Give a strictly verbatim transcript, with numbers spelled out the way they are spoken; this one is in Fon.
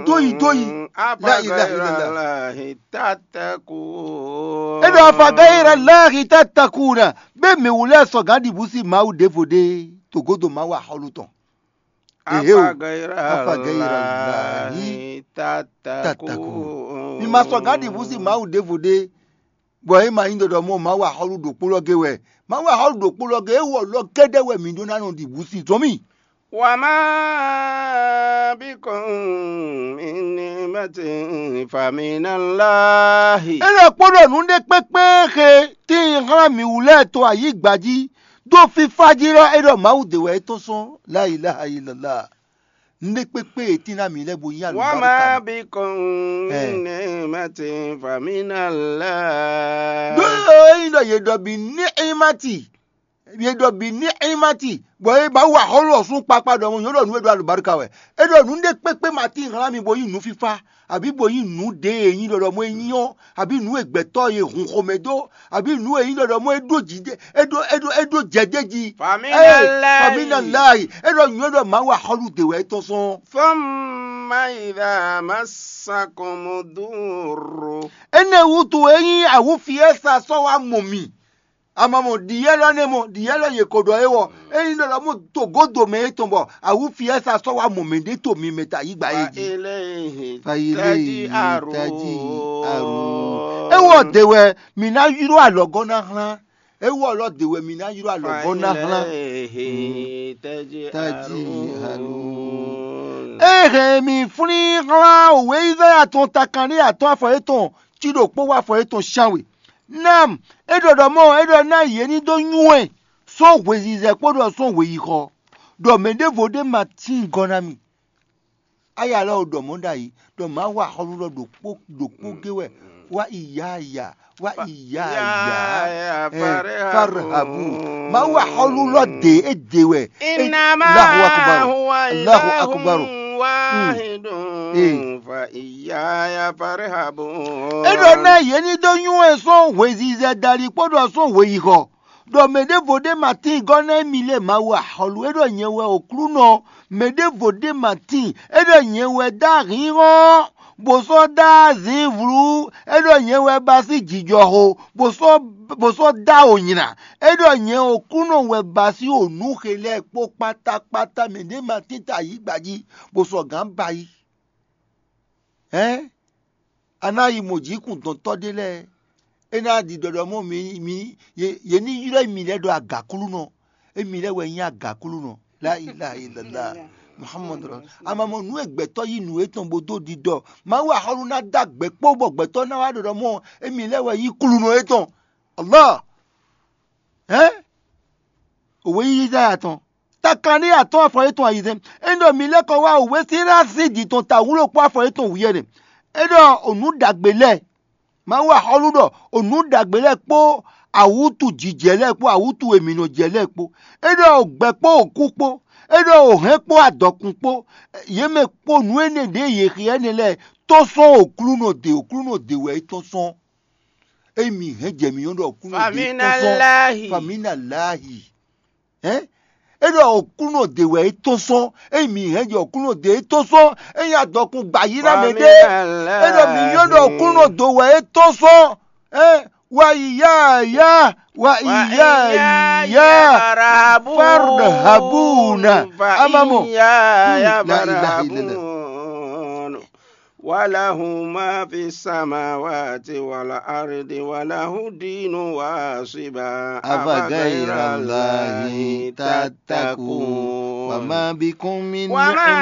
Dóyi, dóyi. La ilaha illallah. Tattaqun. E ɖɔ afa gayira lahi tatakuna. Be mi wulɛ sɔgan ɖibu si Mawu ɖevo ɖe togodo Mawu axɔlu tɔn. Ehe o. Afa gayira lahi tatakun. Mi ma sɔgan ɖibu si Mawu ɖevo ɖe. Bɔ é ma nyí ɖɔɖɔ mɔ Mawu axɔlu ɖokpó lɔ ge wɛ. Mawu axɔlu ɖokpó lɔ ge é wɔ lɔ kɛ́ɖɛ́ wɛ mi ɖó ná nɔ ɖibu si zɔn mì. Wa ma bikum min ni'matin faminallahi. É ɖɔ kpó ɖɔ nǔ ɖé kpékpé xe tíin xlán mǐ wú lɛ́ɛ to ayǐgba jí dó fífá jí lɔ é ɖɔ Mawu ɖe wɛ é tɔ́n sɔ́n. La ilaha illallah. Nú ɖé kpékpé e tín ná mǐ lɛ́ɛ bo nyí Wa ma alǔbáríkà. Bikum min ni'matin faminallah. Ɖó ényí ɖɔ yě ɖɔ bǐ ní ímati, yě ɖɔ bǐ ní ímati, bɔ é ba wa xɔlɔ́ sún kpakpa ɖɔ nyɔ̌ ɖɔ nǔ e ɖo alǔbáríkà wɛ. É ɖɔ nǔ ɖé kpékpé ma tín hlán mi bo nyí nǔfífá, abǐ bo nyí nǔ ɖé e nyí ɖɔɖɔ mɔ é nyí ɔ́, abǐ nǔ e gbɛtɔ́ e hun xomɛ dó, abǐ nǔ e nyí ɖɔɖɔ mɔ é ɖó jǐ ɖé, é ɖó é ɖó é ɖó jɛ ɖé jí. Faminallah. Faminallah. É ɖɔ nyɔ̌ ɖɔ Mawu axɔ́lú dě wɛ é tɔ́n sɔn. Thumma idha massakum durru. Énɛ́ wútu é nyí awǔfi e sa sɔ́ wá mɔ mì. Ama mɔ ɖiyɛ́ lɔ nɛ́ mɔ ɖiyɛ́ lɔ yě ko ɖɔ é wɔ. Ényí ɖɔ ɖɔ mɔ togodo mɛ é tɔn bɔ awǔfi e sa sɔ́ wá mɔ mɛ ɖé to mi mɛ ta yí gba é jí. Fa ilé yìí tají àrùn. É wɔ dè wɛ mǐ ná yró alɔgɔ́ ná hlán. É wɔ lɔ dè wɛ mǐ ná yró alɔgɔ́ ná hlán. Tají àrùn. É hɛn mì flín hlán òwe Izáya tɔn takanɖé atɔ́ afɔ étɔn cí ɖokpó wá afɔ étɔn sán we. Nam, é ɖɔ ɖɔ mɔ é ɖɔ ná yě ní dó nywɛ́ sɔ́ hwezizɛ kpódó sɔ́ hweyixɔ, ɖɔ mɛ ɖěvo ɖé ma tín gɔ́ ná mì. Aya lɔ ɖɔ mɔ̌ ɖ'ayǐ ɖɔ Mawu axɔ́lú lɔ ɖokpó ɖokpó gé wɛ wá iyaya wá iyaya. Farhabu. Mawu axɔ́lú lɔ dě é dě wɛ. Innama Allahu akbar. Huwa Allahu ilahun akbar. Wahidun. Fa iyaya farhabun. É ɖɔ ná yě ní dó nywɛ́ sɔ́ hwezizɛ dali kpódó sɔ́ hweyixɔ. Ɖɔ mɛ ɖěvo ɖé ma tín gɔ́ ná émí lé Mawu axɔ́lú. É ɖɔ nyɛ wɛ Oklúnɔ. Mɛ ɖěvo ɖé ma tín. É ɖɔ nyɛ wɛ dó ahǐnhɔ́n, bó sɔ́ dó azǐnvlú. É ɖɔ nyɛ wɛ ba sí jijɔxo, bó sɔ́ bó sɔ́ dó awo nylá. É ɖɔ nyɛ Oklúnɔ wɛ ba sí onú xe lɛ́ɛ kpó kpátákpátá. Mɛ ɖé ma tín ta yǐ gba jí, bó sɔ́ gǎn ba yí. Hɛ̌n, a ná yi mɔ jǐkúndɔ̌ntɔ́ ɖé lɛ́ɛ. É ná ɖi ɖɔɖɔ mɔ mi mi yě ní ylɔ́ mì lɛ́ɛ ɖɔ agǎklúnɔ. Émí lɛ́ɛ wɛ nyí agǎklúnɔ. La ilaha illallah. Muhammadu Rasul. Ama mɔ nǔ e gbɛtɔ́ yí nǔ étɔn bó dó ɖiɖɔ. Mawu axɔ́lú ná dó agbɛ̌ kpó bɔ gbɛtɔ́ ná wá ɖɔɖɔ mɔ émí lɛ́ɛ wɛ nyí klúnɔ étɔn. Allah. Hɛ̌n? Òwe yíyí Izáya tɔn. Takanɖé atɔ́ afɔ yětɔn ayizɛ́n. É ɖɔ mi lɛ́ kɔ wá òwe sín ná sín jǐ tɔn ta wúlo kpó afɔ yětɔn wǔyɛ́ ɖe. É ɖɔ onǔ ɖagbe lɛ́ɛ. Mawu axɔ́lú ɖɔ onǔ ɖagbe lɛ́ɛ kpó awǔtu jijɛ lɛ́ɛ kpó awǔtu e mǐ nɔ jɛ lɛ́ɛ kpó. É ɖɔ ògbɛ kpó òkú kpó. É ɖɔ òhɛn kpó adɔkun kpó. Yě mɛ kpó nǔ énɛ́ ɖě yě xyá énɛ́ lɛ́ɛ tɔ́n sɔ́n Oklúnɔ dě, Oklúnɔ dě wɛ é tɔ́n sɔ́n. Ényí mǐ hɛn jɛ mǐ nyɔ́ ɖɔ Oklúnɔ dě tɔ́n sɔ́n. Faminalahi. Faminalahi. Hɛ̌n? É ɖɔ Oklúnɔ dě wɛ é tɔ́n sɔ́n. Ényí mǐ hɛn jɛ Oklúnɔ dě é tɔ́n sɔ́n. Ényí adɔkun gba yí ná mɛ ɖé. É ɖɔ mǐ nyɔ́ ɖɔ Oklúnɔ dó wɛ é tɔ́n sɔ́n. Hɛ̌n? Wa iyaya, wa iyaya, farhabuna. Ama mɔ. Hmm, la ilaha illallah. وله ما في السماوات والأرض وله الدين واصبا أفغير الله تتقون وما بكم من وما